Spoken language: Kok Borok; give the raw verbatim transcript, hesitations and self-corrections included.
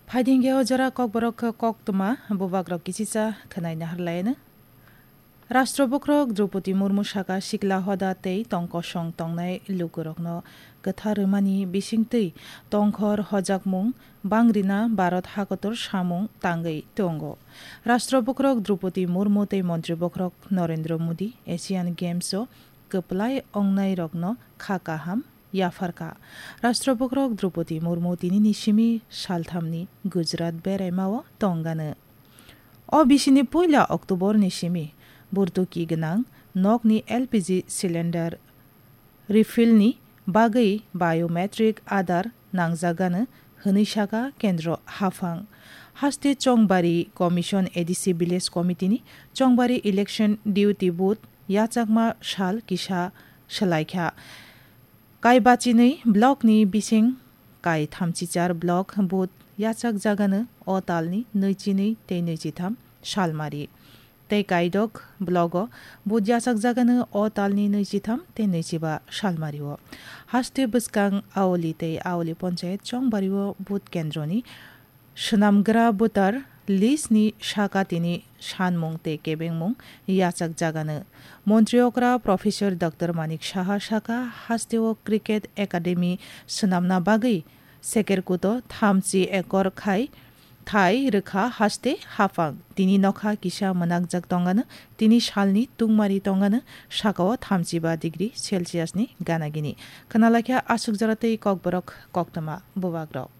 Phaidingge o jora kokborok koktwma bubagrok kichisa khwnai naharlaino. Rashtra bokhorok Droupadi Murmu saka sikla hoda tei tongkosong tongnai lukurokno kwthar rwmani bisingtwi tongkhor hojakmung bangrina Bharat hakotor samung tangwi tongo. Rashtra bokhorok Droupadi Murmu tei Montri bokhorok Narendra Modi Asian Games o kwplai ongnairokno kha kaham yapharkha. Rashtra bokhorok Droupadi Murmu tinini simi salthamni Gujarat beraimao tongganw. O bisini puila October ni simi burtuki gwnang nokni L P G cylinder refill ni bagwi biometric Aadhaar nangjaganw hwnwi saka kendro haphang. Haste Chongbari Commission A D C Village Committee ni Chongbari election duty booth yachakma sal kisa swlaikha. Kaibachinwi block ni bising kai thamchichar block booth yachakjaganw o talni nwichini tei nwichitham salmari. Tei kaidok blogo booth yachakjaganw o talni nwichitham tei nwichiba salmario. Haste bwskang Aoli tei Aoli Ponchayat Chongbario booth kendroni swnamgra voter list ni saka tini sanmung tei kebengmung yachakjaganw. Montri okra Professor Doctor Manik Saha saka hasteo Cricket Academy swnamna bagwi Sekerkuto thamchi ekor khai thai rwkha haste haphang. Tini nokha kisa mwnakjak tongganw, tini salni tungmari tongganw, sakao thamchiba degree Celsius ni ganagini. Khwnalaikha aswk jora tei kokborok koktwma bubagrok.